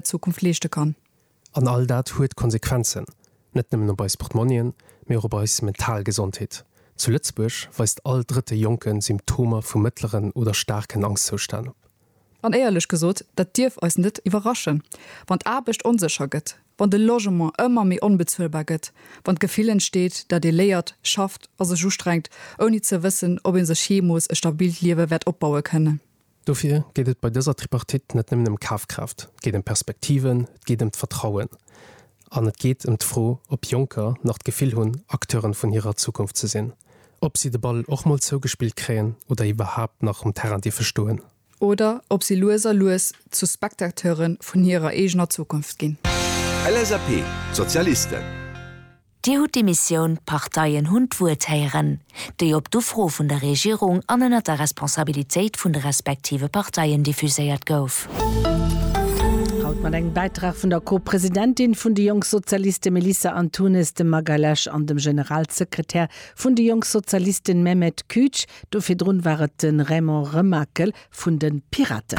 Zukunft leeschte kann. An all dat huet Konsequenzen, net nëmmen op eis Portmonnien, mee och op eis mental Gesondheet. Zu Lëtzebuerg weist all drëtte Jonke Symptomer vu mëttleren oder staarken Angschtzoustänn op. An éierlech gesot, dat dierf eis net iwwerraschen, wann d'Aarbecht onsécher gëtt, wann de Logement ëmmer méi onbezuelbar gëtt, wann d'Gefill entsteet, dat ee léiert, schafft a sech ustrengt, ouni ze wëssen, ob ee sech jeemools e stabilt Liewe wäert opbaue kënnen. Dofir geet et bei dëser Tripartite net nëmmen ëm Kafkraaft, et geet ëm Perspektiven, et geet ëm d'Vertrauen an et geet ëm d'Fro, ob Jonker nach d'Gefill hunn, Acteuren vun hirer Zukunft ze sinn, ob si de Ball och mol zougespillt kréien oder iwwerhaapt nach um Terrain dierfe stoen. Oder ob si lues a lues zu Spectateure vun hirer eegener Zukunft ginn. LSAP, D'Sozialisten. Dir hutt d'Emissioun D'Parteien hunn d'Wuert héieren, déi op d'Ufro vun der Regierung an ënnert der Responsabilitéit vun de respektive Parteien diffuséiert gouf. Haut mat engem Bäitrag vun der Co-Presidentin vun de Jonk Sozialiste Melissa Antunes de Magalhães an dem Generalsekretär vun de Jonk Sozialisten Mehmet Güç. Do virdrun war et de Raymond Remakel vun de Piraten.